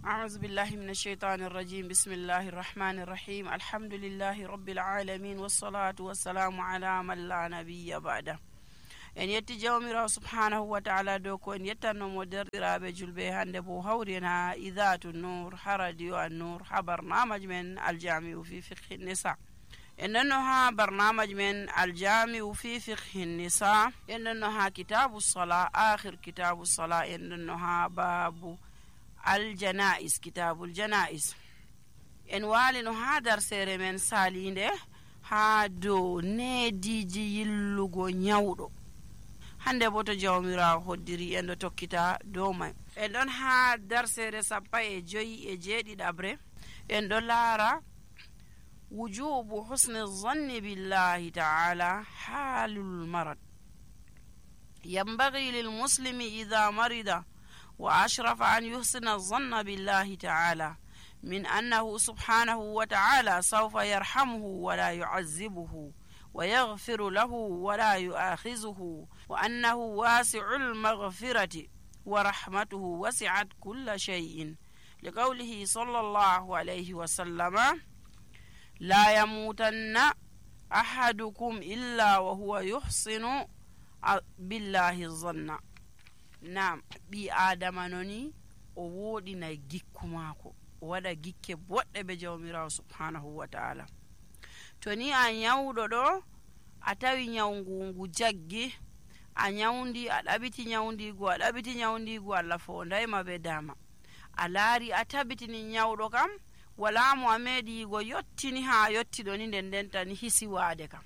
أعوذ بالله من الشيطان الرجيم بسم الله الرحمن الرحيم الحمد لله رب العالمين والصلاة والسلام على من لا نبي بعده en yetti jawmirawo subhanahu wa ta'ala dow ko en yettannomo derɗiraɓe julɓe hande bo hawri en ha idatu nour ha radio an nour ha barnamaj men aljamiu fi fiqhi nisa en nonno ha barnamaj men aljamiu fi fiqhi nisa en nonno ha kitabu sala akhir kitabu sala en nonno ha babu aljanais kitabul janais en walino ha darsere men salinde ha dow neediji yillugo nyawɗo hande bo to jawmirawo hoddiri en do tokkita dow may en don ha darsere 15 en do laara wujubu husni dhanni billahi ta'ala halul marad ينبغي للمسلم إذا مرض وأشرف أن يحسن الظن بالله تعالى من أنه سبحانه وتعالى سوف يرحمه ولا يعذبه ويغفر له ولا يؤاخذه وأنه واسع المغفرة ورحمته وسعت كل شيء لقوله صلى الله عليه وسلم لا يموتن أحدكم إلا وهو يحسن بالله الظن نعم بي آدم نوني o wodina gikku mako o wada gikke bodde be jawmirawo subhanahu wa ta'ala to ni a nyawdo do a tawi nyawngu jaggi a nyawndi a dabiti nyawndigo Allah fo ndayma be dama a laari a tabitini nyawdo kam wala mo amedi go yottini ha yottido ni den tan hisi waade kam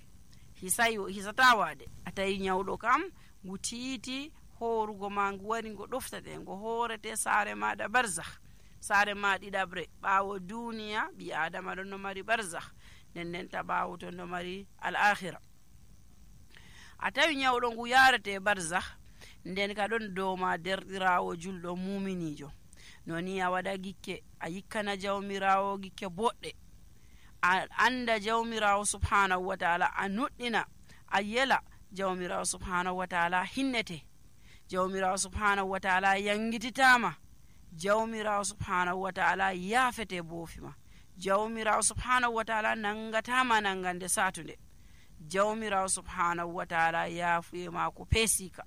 hisata waade a tawi nyawdo kam ngutiti horugo mangu wari go doftate go horete saare maada barzakh saare maadi dabre baawo duniya bi adama don no mari barzakh den ta baawo to no mari al akhirah atawi nyawdo ngu yarete barzakh nden ka don doma derdirawo juldo muminijo noni a wada gikke a yikkana jawmirawo gikke bodde a anda jawmirawo subhanahu wa ta'ala a nuddina a yela jawmirawo subhanahu wa ta'ala hinnete jawmirawo subhanahu wa ta'ala yangititama jawmirawo subhanahu wa ta'ala yafete bofima jawmirawo subhanahu wa ta'ala nangatama nangande satunde jawmirawo subhanahu wa ta'ala yafuye mako pesika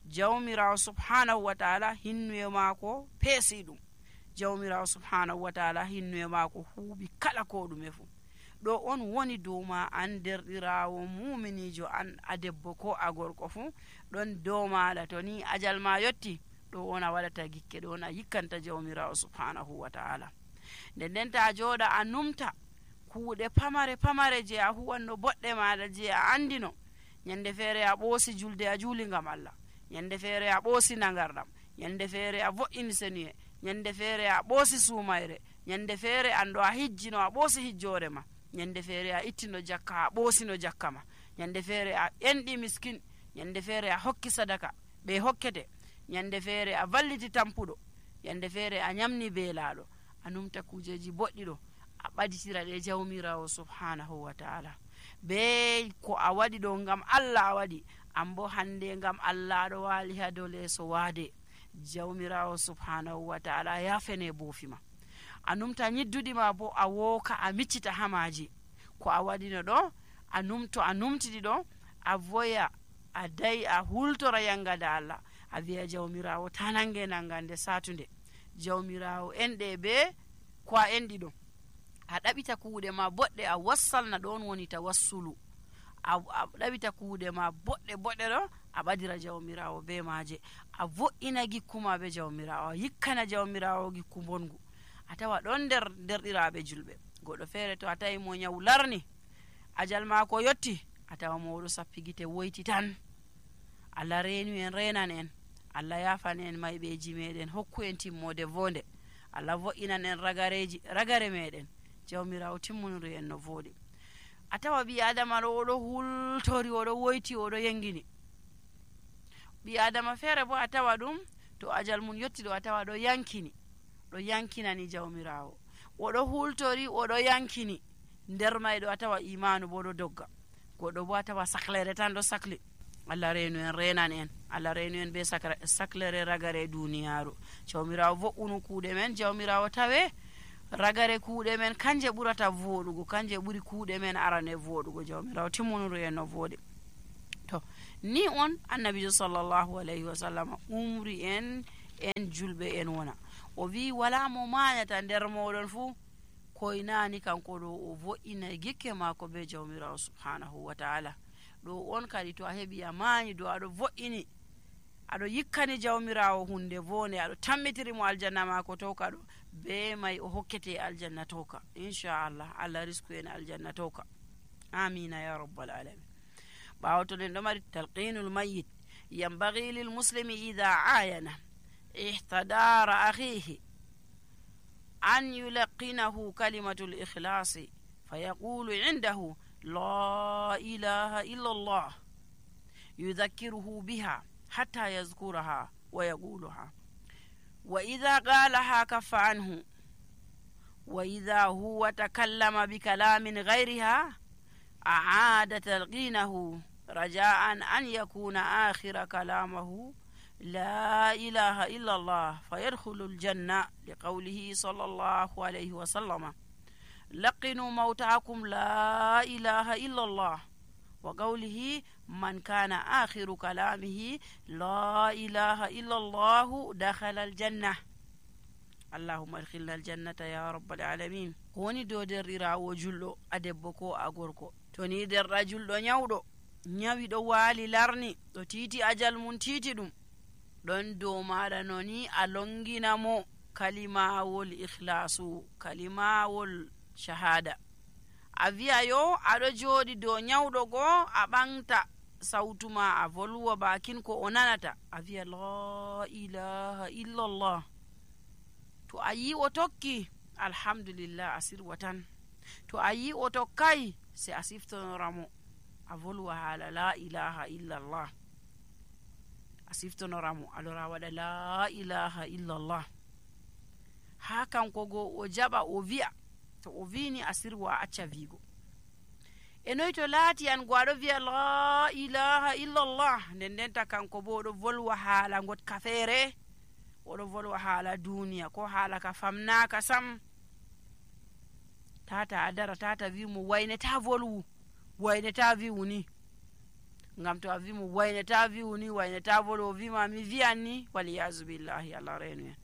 jawmirawo subhanahu wa ta'ala hinnuye mako pesidum jawmirawo subhanahu wa ta'ala hinnuye mako huubi kala ko dume fu do on woni doma an derdirawo muminijo an adebbo ko agorko fu don doma la to ni ajal ma yotti do wona wadata gikke do na yikkanta jawmirawo subhanahu wa ta'ala den ta joda anumta kuude pamare je a huwanno bodde maada je a andino nyande fere a bosi julde a juli ngam Allah nyande fere a bosi nangardam nyande fere a vo'ini seniye nyande fere a bosi sumayre nyande fere ando a hijjino a bosi hijjore ma nyande fere a ittino jakka a bosino jakkama nyande fere a endi miskin nyande fere a hokki sadaka be hokkete nyande fere a valliti tampudo nyande fere a nyamni beelado anumta kujeji boddido a baditira de jawmirawo subhanahu wa ta'ala be ko a wadi do ngam Allah a wadi ambo hande ngam Allah do wali ha dole so wade jawmirawo subhanahu wa ta'ala ya fene bofima anumta nyiddudi ma bo a woka a miccita hamaji ko a wadino do anumtidi do a voya a dai a hultora yangada Allah a wiya jawmirawo tanange nangande satunde jawmirawo ende be ko a endi do a dabita kuude ma bodde a wassalna don woni tawassulu a dabita kuude ma bodde do a badira jawmirawo be maaje a vo'ina gikkuma be jawmirawo yikkana jawmirawo gikku bongu a tawa don derdirabe julbe godo fere to a tawi mo nyawlarni ajal ma ko yotti a tawa mo do sappigite woyti tan Allah reenu en renan en Allah yafan en maybeji meden hokku en timmode vonde Allah vo'inan en ragare meden jawmirawo timmunuri en no vodi a tawa bi adama do hultori o do woyti o do yengini bi adama fere bo a tawa dum to ajal mun yotti do a tawa do yankinani jawmirawo o do hultori o do yankini nder maydo a tawa imanu bo do dogga godo bo a tawa saklere tan do sakli Allah reenu en renan en Allah reenu en be saklere ragare duniyaaru. Jawmirawo vo'unu kuuɗe men, jawmirawo tawe ragare kuuɗe men kanje ɓurata voɗugo, kanje ɓuri kuuɗe men arane voɗugo. Jawmirawo timmunuru en no voɗi. To ni on annabijo sallallahu alayhi wa sallam umri en julɓe en wona, o wi wala mo mañata nder moɗon fuu koynani kanko ɗo o vo'ina gikke maako be jawmirawo subhanahu wa ta'ala. ɗo on kadi to a heɓi a mañi do aɗo vo'ini aɗo yikkani jawmirawo hunde vone, aɗo tammitiri mo aljanna maako towka ɗo, be may o hokkete aljanna towka inchallah. Allah risku en aljanna towka, amina ya rabbal alamin. ɓawo to nden ɗo mari talqinul mayyit, yambagi lil muslimi ida ayana ihtadara akhihi an yulaqinahu kalimatul ikhlasi fayaqulu indahu la ilaha illa Allah yudhakkiruhu biha hatta yazkuraha wa yaquluha, wa idha qalaha kaffa anhu, wa idha huwa takallama bikalamin ghayriha أعاد تلقينه رجاء أن يكون آخر كلامه لا إله إلا الله فيدخل الجنة، لقوله صلى الله عليه وسلم لقنوا موتاكم لا إله إلا الله، وقوله من كان آخر كلامه لا إله إلا الله دخل الجنة. allahumma adkhilna aljannata ya rabbal alamin. ko woni dow derɗirawo julɗo a debbo ko a gorko, to ni derɗa julɗo nyawɗo nyawi ɗo waali larni ɗo titi ajal mum titi ɗum, ɗon dow maɗa noni a longinamo kalimawol ikhlasu, kalimawol shahada. a wiya yo aɗo jooɗi dow nyawɗo goo a ɓanta sawtuma a volwa bakin ko o nanata, a wiya la ilaha illallah. to a yi o tokki alhamdulillah a sirwa tan, to a yi o tokkay se a siftonoramo a volwa haala la ilaha illallah, a siftonoramo alora waɗa la ilaha illallah. ha kanko go o jaɓa o wi'a, to o wini a sirwa a acca wiigo. e noy to laati an go aɗo wiya la ilaha illallah, nden ndenta kanko bo oɗo volwa haala gotka feere, oɗo volwa haala duniya ko haala ka famnaka sam. tata a dara tata wimo wayneta volwu, wayneta wiwu ni, ngam to a wimo wayneta wiwu ni, wayneta volwu, o wima mi wiyan ni, waliyasu billahi, allah reenu en.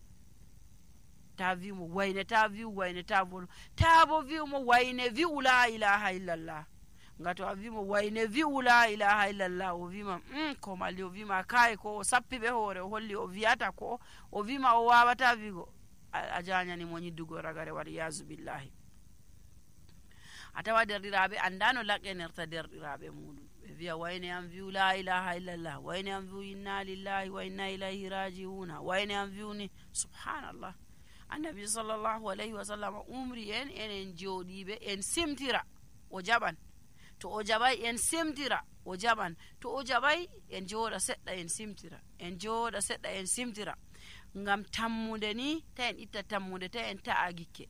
ta wimo wayneta wiwu, wayneta volwu, ta bo wiwmo wayne wi'u la ilaha illallah. nga to a wimo wayne wi'u la ilaha illallah, o wima ko malli, o wima kay ko o sappi ɓe hoore, o holli o wiyata ko o wima o wawata wigo, a jañani mo ñiddugo ragare, waliyasu billahi. a tawa derɗiraɓe andano laqqenirta derɗiraɓe muɗum, ɓe wiya wayne am wi'u la ilaha illallah, wayne am wi'u inna lillahi wa inna ilayhi rajiuna, wayne am wi'uni subhanallah. annabi sallllahu alayhi wa sallam umri en enen jooɗiɓe en simtira o jaɓan, to o jaɓay en simtira o jaɓan, to o jaɓay en jooɗa seɗɗa en simtira, en jooɗa seɗɗa en simtira, ngam tammude ni ta en itta tammude, ta en ta'a gikke.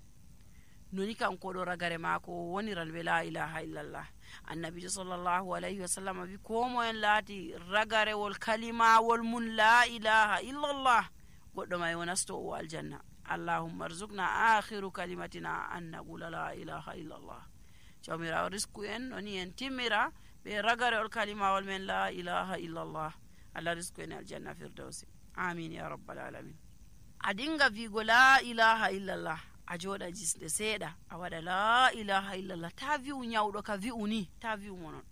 noni kanko ɗo ragare maako o woniran ɓe la ilaha illallah. annabijo sallllahu alayhi wa sallam wi ko mo en laati ragarewol kalimawol mum la ilaha illallah, goɗɗo may o nasto o aljanna. allahumma arzukna akhiru kalimatina an naqula la ilaha illallah. jawmirawo risku en noni en timmira ɓe ragarewol kalimawol men la ilaha illallah. allah risku en aljanna firdausi, amin ya rabbal alamin. a dinga wigo la ilaha illallah, a jooɗa jisde seeɗa a waɗa la ilaha illallah, ta wi'u nyawɗo ka wi'u ni, ta wi'umo non,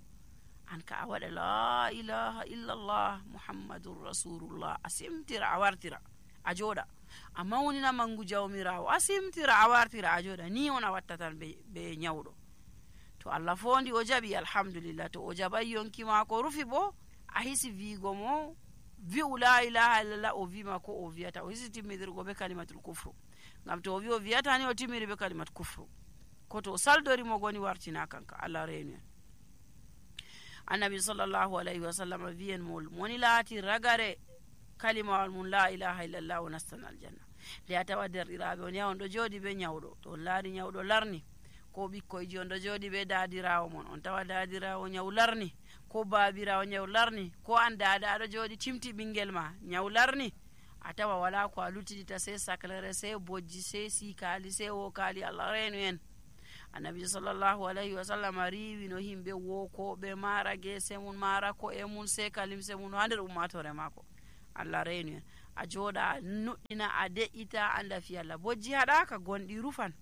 an ka a waɗa la ilaha illallah muhammadun rasulullah, a simtira a wartira a jooɗa, a mawnina mangu jawmirawo, a simtira a wartira a jooɗa, ni on a watta tan be nyawɗo. to allah fondi o jaɓi alhamdulillah, to o jaɓay yonki maako rufi bo a hisi wiigo mo wi'u la ilaha illallah, o wima ko o wiyata, o hisi timmidirgo be kalimatul kufru, ngam to o wi o wiyata ni o timmiri be kalimat kufru, ko to o saldori mo goni wartina kanka, allah reenu en. annabi sallllahu alayhi wa sallam wiyen mol moni laati ragare kalimawal mum la ilaha illallah o nastan aljanna. nde a tawa derɗiraɓe on yaha on ɗo jooɗi be nyawɗo, to on laari nyawɗo larni, ko ɓikkoyji on ɗo jooɗi be daadirawo mon, on tawa daadirawo nyaw larni, ko baabirawo nyawlarni ko an dada aɗo jooɗi timti ɓingel ma nyawlarni a tawa wala ko a luttidita sey saclere sey bojji sey sikali sey wokali allah reenu en. annabi sallllahu alayhi wa sallam riwino himɓe wokoɓe mara gese mum mara ko e mum sey kalimse mum ha nder ummatore mako allah reenu en. a jooɗa a nuɗɗina a de'ita anda fi allah bojji haɗaka gonɗi rufan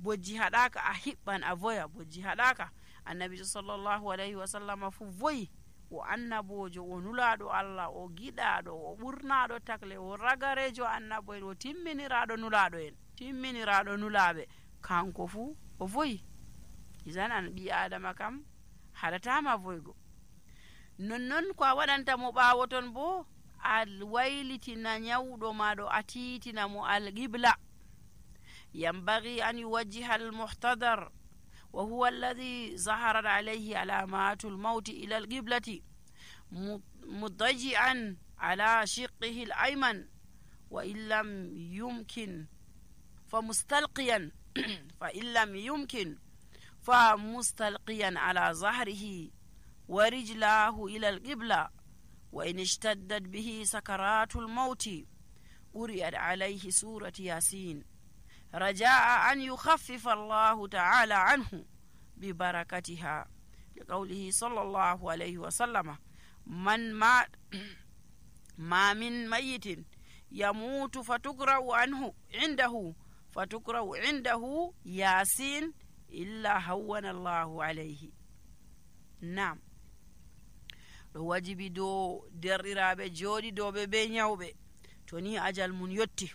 bojji haɗaka a hiɓɓan a voya bojji haɗaka. annabi sallllahu alayhi wa sallam fu voyi o annabojo o nulaɗo allah o giɗaɗo o ɓurnaɗo takle o ragarejo annabo en o timminiraɗo nulaɗo en timminiraɗo nulaɓe kanko fu o voyi. isan an ɓi adama kam haɗatama voygo. nonnon ko a waɗantamo ɓawo ton bo a waylitina nyawɗo maɗo a titinamo alqibla. yambagi an yuwajjiha almuhtadar wa huwa alladhi zaharat alayhi alamatu lmauti ila alqiblati mudaji'an ala shiqihi alayman wa in lam yumkin فمستلقيا فإن لم يمكن فمستلقيا على ظهره ورجلاه إلى القبلة وإن اشتدت به سكرات الموت قرئت عليه سورة ياسين رجاء أن يخفف الله تعالى عنه ببركتها لقوله صلى الله عليه وسلم ما من ميت يموت فتقرأ عنده ياسين إلا هون الله عليه. نعم ɗo wajibi dow derɗiraɓe jooɗi dow be nyawɓe to ni ajal mum yotti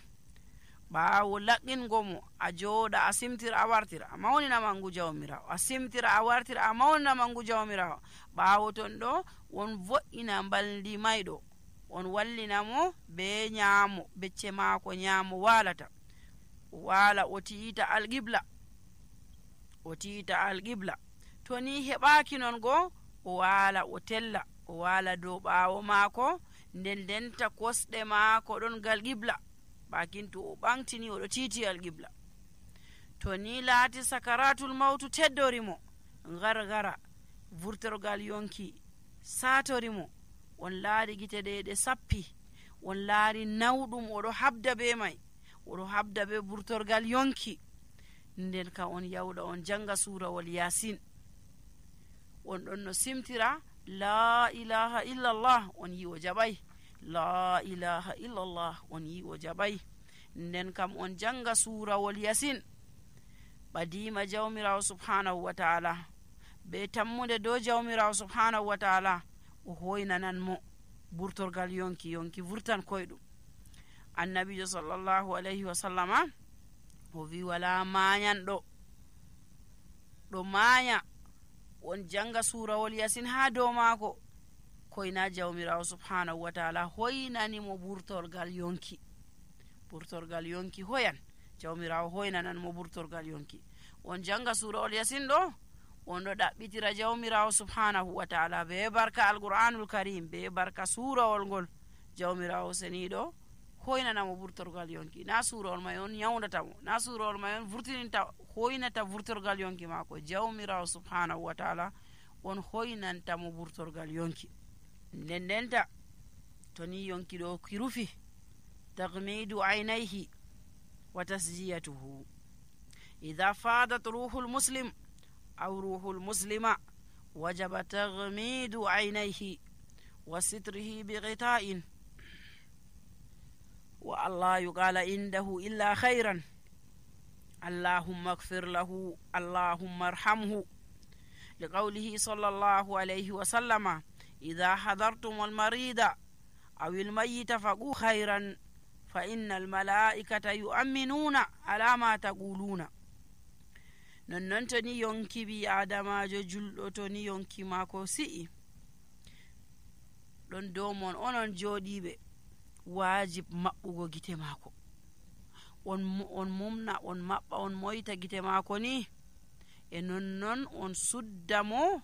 ɓaawo laqqingo mo a jooɗa a simtira a wartira a mawnina mangu jawmirawo a simtira a wartira a mawnina mangu jawmirawo ɓaawo ton ɗo won vo'ina mbaldi mayɗo on wallinamo be nyaamo becce maako nyaamo walata wala o tiita alqibla to ni heɓaki non go o wala o tella o wala dow ɓaawo maako nden denta kosɗe maako ɗon gal qibla bakin to o ɓantini oɗo tiiti alqibla. to ni laati sakaratul mawtu teddorimo gargara vurtorgal yonki satorimo on laari gite ɗe sappi on laari nawɗum oɗo habda be may oɗo habda be vurtorgal yonki nden ka on yawɗa on janga surawol yasin on ɗon no simtira la ilaha illallah on yi o jaɓay la ilaha illallah on yi o jaɓay nden kam on janga surawol yasin ɓadima jawmirawo subhanahu wa ta'ala be tammude dow jawmirawo subhanahu wa ta'ala o hoynanan mo burtorgal yonki vurtan koyɗum. annabijo sallllahu alayhi wa sallama o wi wala mayanɗo ɗo maya on janga surawol yasin ha dow maako koyna jawmirawo subhanahu wa ta'ala hoynanimo burtorgal yonki hoyan jawmirawo hoynanan mo burtorgal yonki on janga surawol yasin ɗo on ɗo ɗaɓɓitira jawmirawo subhanahu wa ta'ala be barka alqur'anul karim be barka surawol ngol jawmirawo seniɗo hoynanamo burtorgal yonki na surawol may on yawdatamo na surawol may on vurtininta hoynata vurtorgal yonki maako jawmirawo subhanahu wa ta'ala on hoynantamo burtorgal yonki ndendenta to ni yonki ɗo ki rufi tagmidu aynayhi wa tasjiyatuhu idha fadat ruhul muslim aw ruhul muslima wajaba tagmidu aynayhi wa sitrihi bighita'in wa allah yuqala indahu illa khayran allahumma ighfir lahu allahumma arhamhu liqawlihi sallallahu alayhi wa sallama idha hadartum almarida aw almayyita faqu khayran fa inna almalaikata yu'minuna ala ma taquluna. nonnon to ni yonki bi adamajo julɗo to ni yonki maako si'i ɗon dow mon onon jooɗiɓe wajib maɓɓugo gite maako on mumna on maɓɓa on moyta gite maako ni e nonnon on sudda mo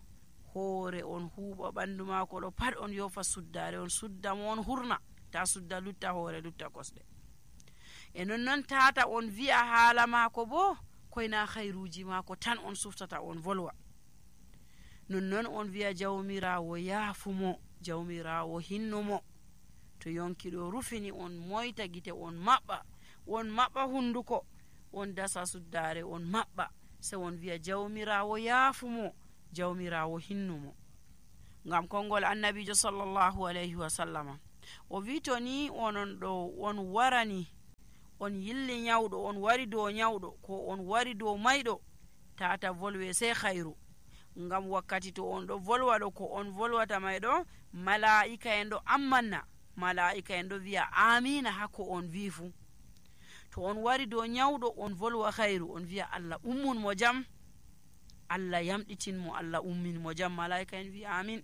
hoore on huuɓa ɓandu maako ɗo pat on yofa suddare on sudda mo on hurna ta sudda lutta hoore lutta kosɗe e nonnon tata on wi'a haala maako bo koyna hayruji maako tan on suftata on volwa nonnon on wi'a jawmirawo yaafumo, jawmirawo hinnumo. to yonki ɗo rufini on moyta gite on maɓɓa hunduko, on dasa suddare on maɓɓa, se on wi'a jawmirawo yaafumo, jawmirawo hinnumo. ngam kongol annabijo sallallahu alayhi wa sallama o wi to ni onon ɗo on warani on yilli nyawɗo, on wari dow nyawɗo ko on wari dow mayɗo, tata volwe sey khayru. ngam wakkati to on ɗo volwa ɗo ko on volwata may ɗo mala'ika en ɗo ammanna, mala'ika en ɗo wi'a amina ha ko on wi fu. to on wari dow nyawɗo on volwa khayru, on wi'a Allah ummun mo jam, Allah yamɗitin mo, Allah ummin mo jam, mala'ika en wi amin.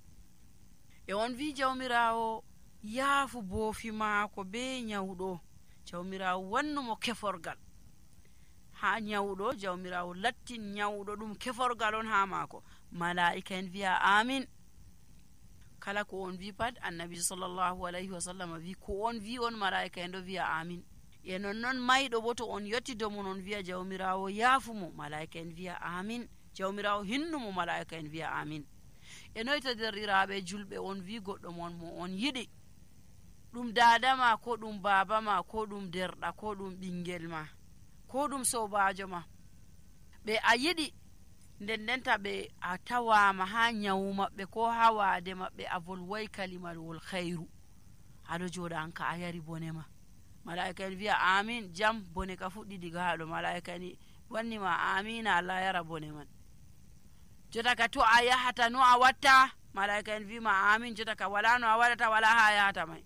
e on wi jawmirawo yaafu boofi maako be nyawɗo, jawmirawo wannumo keforgal ha nyawɗo, jawmirawo lattin nyawɗo ɗum keforgal on ha maako, mala'ika en wi'a amin. kala ko on wi pat annabi sallallahu alayhi wa sallam wi ko on wi on mala'ika en ɗo wi'a amin. e nonnon mayɗo bo to on yottido mum on wi'a jawmirawo yaafumo, mala'ika en wi'a amin. jawmirawo hinnumo, mala'ika en wi'a amin. e noyta derɗiraɓe julɓe on wi goɗɗo mon mo on yiɗi, ɗum dadama ko ɗum baba ma ko ɗum derɗa ko ɗum ɓingel ma ko ɗum sobajo ma, ɓe a yiɗi ndendenta ɓe a tawama ha nyawu maɓɓe ko ha waade maɓɓe a volway kalimalwol khayru, aɗo joɗa an ka a yari bone ma, mala'ika en wi'a amin, jam bone ka fuɗɗi diga haɗo, mala'ika en wannima amina, Allah yara bone man. jota ka to a yahata no a watta, mala'ika en wima amin, jota ka wala no a waɗata, wala ha yahata may.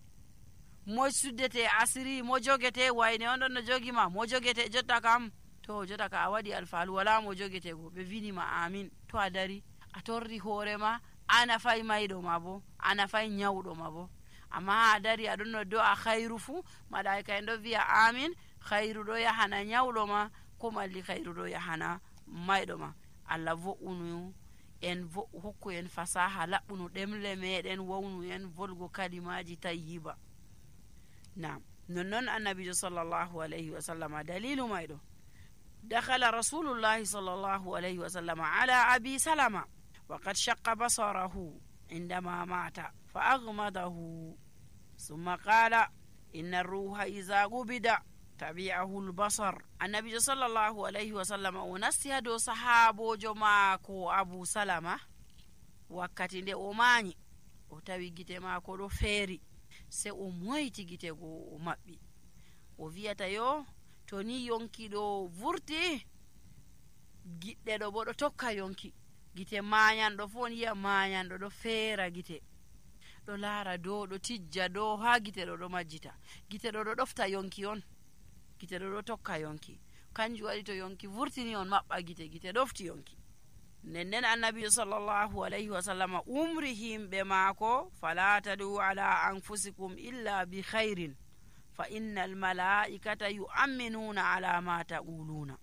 mo suddete asiri, mo jogete wayne on ɗon no jogima, mo jogete jotta kam to jota ka a waɗi alfalu wala mo jogete go, ɓe winima amin. to a dari a torri hoorema, a nafay mayɗo ma bo, a nafay nyawɗo ma bo, amma ha a dari aɗon no do'a khayru fu, mala'ika en ɗo wi'a amin, khayru ɗo yahana nyawɗo ma, ko malli khayru ɗo yahana mayɗo ma. Allah vo'unu en hokku en fasaha laɓɓuno ɗemle meɗen, wawnu en volgo kalimaji tayyiba. nam nonnon annabijo sallallahu alayhi wa sallama dalilu mayɗo, dakhala rasulullahi sallallahu alayhi wa sallama ala abi salama wa qad shaqqa basarahu indama mata fa aghmadahu summa qala inna ruha iza gubida tabi'ahu albasar. annabijo sallallahu alayhi wa sallama o nasti ha dow sahabojo maako abu salama wakkati nde o mañi, o tawi gite maako ɗo feeri, se o moyti gite go o maɓɓi, o wiyata yo to ni yonki ɗo vurti, giɗɗe ɗo bo ɗo tokka yonki, gite mañanɗo fo on yiya mañanɗo ɗo feera gite, ɗo laara dow, ɗo tijja dow ha gite ɗo ɗo majjita, gite ɗo ɗo ɗofta yonki on, gite ɗo ɗo tokka yonki. kanjum waɗi to yonki vurtini on maɓɓa gite, gite ɗofti yonki. nden annabijo sallallahu alayhi wa sallama umri himɓe maako, fala tadu ala anfusikum illa bi khairin fa inna almalaikata yu'minuna ala ma taquluna.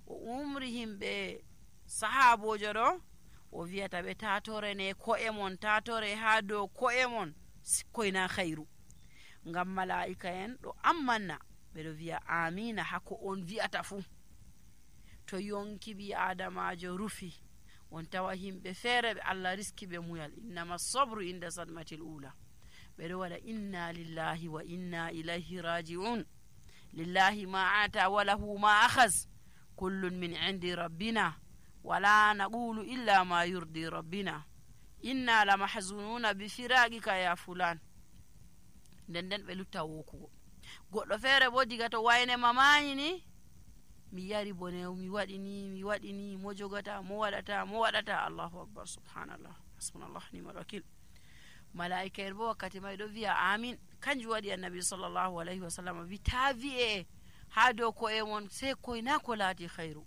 o umri himɓe sahabojo ɗo, o wiyata ɓe tatorene ko'e mon, tatore ha dow ko'e mon sikkoyna khairu, ngam malaika en ɗo ammanna, ɓeɗo wi'a amina hako on wi'ata fu. to yonki ɓi adamajo rufi, on tawa himɓe feere ɓe Allah riski ɓe muyal, innama sabru inda sadmatil ula, ɓeɗo waɗa inna lillahi wa inna ilayhi raji'un, lillahi ma ata wa lahu ma akhaz, kullun min indi rabbina wala naqulu illa ma yurdi rabbina inna la mahzununa bi firaqika ya fulan. nden ɓe lutta wokugo. goɗɗo feere bo diga to wayne mamani ni, mi yari bone, mi waɗini mo jogata, mo waɗata, Allahu akbar, subhanallah, hasbunallah ni'mal wakil. malaika en bo wakkati may ɗo wi'a amin. kanjum waɗi annabi sallallahu alayhi wa sallam wi ta wi'e ha dow ko'e mon sey koyna ko laati khayru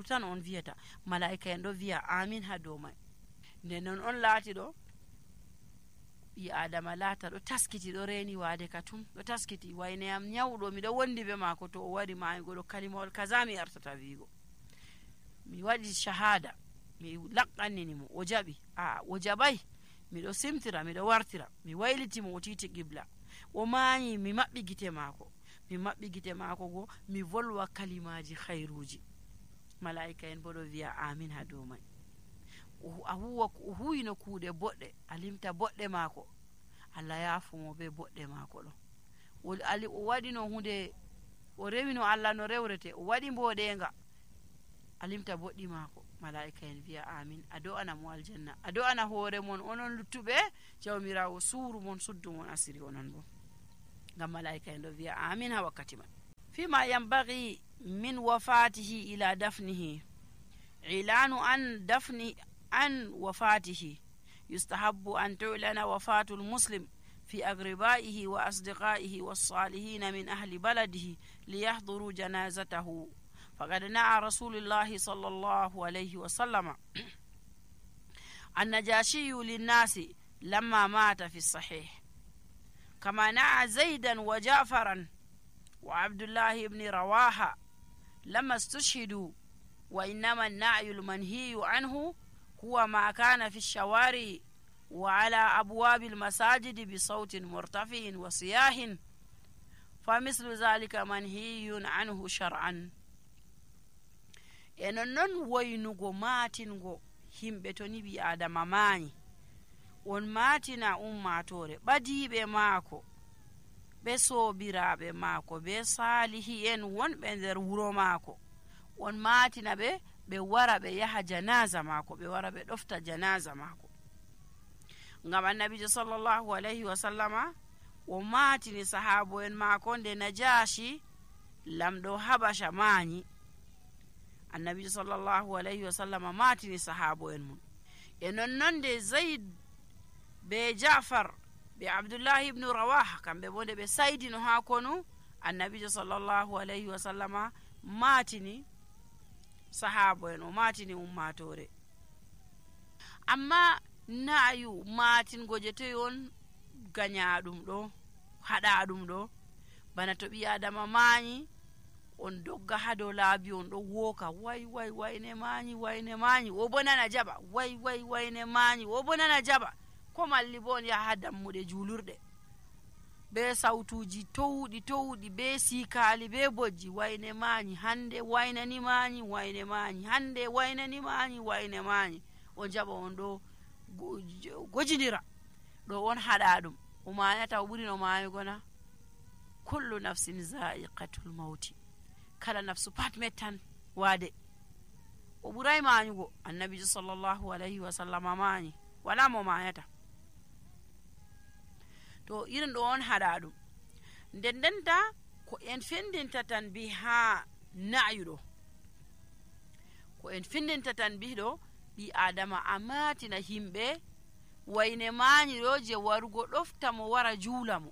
tan on wiyata, malaika en ɗo wi'a amin ha dow may. nde non on laati ɗo ɓi adama laata ɗo taskiti, ɗo reeni waade ka tum, ɗo taskiti, wayne am nyawɗo miɗo wondi be maako, to o wari maygo ɗo kalimawol kaza mi artata wiigo, mi waɗi shahada, mi laqqannini mo, o jaɓi, o jaɓay, miɗo simtira, miɗo wartira, mi waylitimo, o titi qibla, o mañi, mi maɓɓi gite maako go, mi volwa kalimaji khayruji. malaika en bo ɗo wi'a amin ha dow may. o huwino kuuɗe boɗɗe, a limta boɗɗe maako, Allah yaafumo be boɗɗe maako ɗo. O waɗino hunde, o rewino Allah no rewrete, o waɗi mboɗenga, a limta boɗɗi maako. Malaika en wiya amin, a do'ana mo aljanna, a do'ana hoore mon onon luttuɓe, jawmirawo suuru mon, suddu mon asiri onon bo, ngam malaika en ɗo wiya amin ha wakkati man. fima yambagi min wafatihi ila dafnihi ilanu an wafatihi yustahabbu an tu'lana wafatul muslim في أقربائه وأصدقائه والصالحين من أهل بلده ليحضروا جنازته، فقد نعى رسول الله صلى الله عليه وسلم النجاشي للناس لما مات في الصحيح، كما نعى زيدا وجعفرا وعبد الله بن رواحة لما استشهدوا. وإنما النعي المنهي عنه هو ما كان في الشوارع وعلى أبواب المساجد بصوت مرتفع وصياح، فمثل ذلك منهي عنه شرعا. enen non woynugo maatingo himɓe to ni ɓi adama maani, on maatina ummatore ɓadiiɓe maako ɓe soobiraaɓe maako ɓe saalihi en wonɓe nder wuro maako, on maatina ɓe ɓe wara ɓe yaha janaza maako, ɓe wara ɓe ɗofta janaza maako. ngam annabijo sallallahu alayhi wa sallama o maatini sahaabo en maako nde najashi lamɗo habasha maani. annabijo sallallahu alayhi wa sallama maatini sahaabo en mum. e nonnon nde zayd be jafar be abdullahi ibnu rawaha kamɓe bo nde ɓe saydino haa konu, annabijo sallallahu alayhi wa sallama maatini sahaabo en, o maatini ummatore. amma naayu maatingo je toy on gañaɗum ɗo, haɗa ɗum ɗo, bana to ɓi adama maani on dogga ha dow laabi on ɗo wooka way way wayne maani, wayne maani, o bo nana jaɓa, way way wayne maani, o bo nana jaɓa, ko malli bo on yaha ha dammuɗe juulurɗe be sautuji towɗi be siikaali be bojji, wayne maani hande, waynani maani, wayne maani hande, waynani maani, wayne maani, on jaɓa on ɗo gojidira ɗo on haɗa ɗum, o maayata o ɓuri no maayugo na. kullu nafsin za'iqatul mauti, kala nafsu pat mettan waade, o ɓuray maayugo. annabijo sallallahu alayhi wa sallama maani, wala mo maayata. to irin ɗo on haɗa ɗum. ndendenta ko en findinta tan bi ha na'yuɗo, ko en findinta tan bi ɗo ɓi adama a maatina himɓe wayne maani ɗo je warugo ɗofta mo wara juula mo.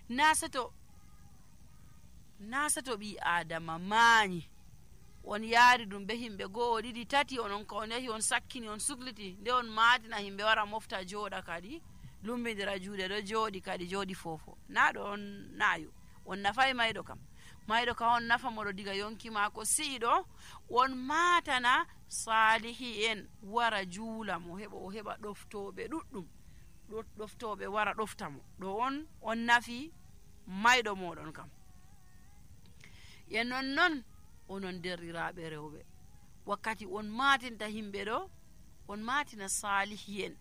na sato ɓi adama maani on yaari ɗum be himɓe go'o ɗiɗi tati, onon ka on yahi on sakkini on sukliti, nde on maatina himɓe wara mofta jooɗa kadi lumbidira juuɗe ɗo jooɗi kadi jooɗi fofo. na ɗo on naayo, on nafay mayɗo kam, mayɗo ka on nafa moɗo diga yonki maako si'iɗo, on maatana saalihi en wara juula mo, o heɓa ɗoftoɓe ɗuɗɗum, ɗoftoɓe wara ɗofta mo, ɗo on nafi mayɗo moɗon kam. e nonnon onon derriraɓe rewɓe, wakkati on maatinta himɓe ɗo, on maatina saalihi en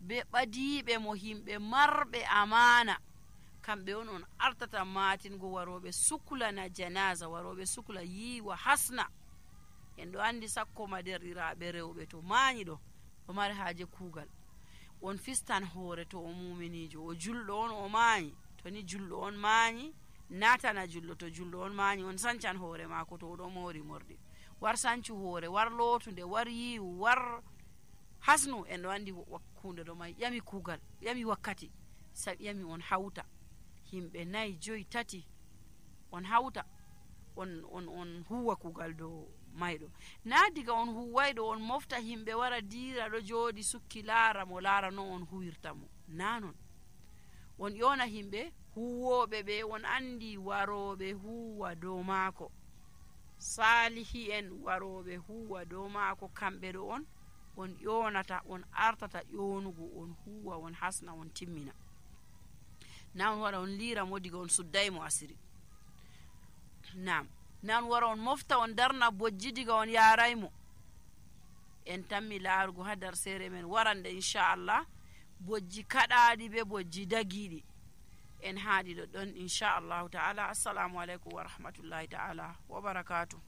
be ɓadiiɓe mo, himɓe marɓe amana, kamɓe on artata maatingo waroɓe suklana janaza, waroɓe sukla yiwa hasna. en ɗo andi sakko ma derɗiraɓe rewɓe to maani ɗo mari haaje kuugal, on fistan hoore to o muminijo, o julɗo on o maani, to ni julɗo on maani natana julɗo, to julɗo on maani on sancan hoore maako to oɗo moori morɗi, war sancu hoore, war lootunde, war yiwu, war hasnu. en ɗo andi wakkunde ɗo may ƴami kuugal, ƴami wakkati, sabi ƴami on hawta himɓe 4 5 tati, on hawta on huwa kuugal dow mayɗo. na diga on huwayɗo on mofta himɓe wara diira ɗo jooɗi sukki laara mo, laara no on huwirta mo, na non. on ƴona himɓe huwoɓe ɓe, on andi waroɓe huwa dow maako, saalihi en waroɓe huwa dow maako, kamɓe ɗo on ƴonata, on artata ƴonugo, on huwa, on hasna, on timmina. na on wara on liira mo diga on suddaymo asiri, nam, na on wara on mofta on darna bojji diga on yaraymo, en tammi laarugo ha dar seere men warande inchallah bojji kaɗaɗi be bojji dagiɗi en haadi ɗo ɗon inchallahu taala. Assalamu aleykum wa rahmatullahi taala wa barakatuh.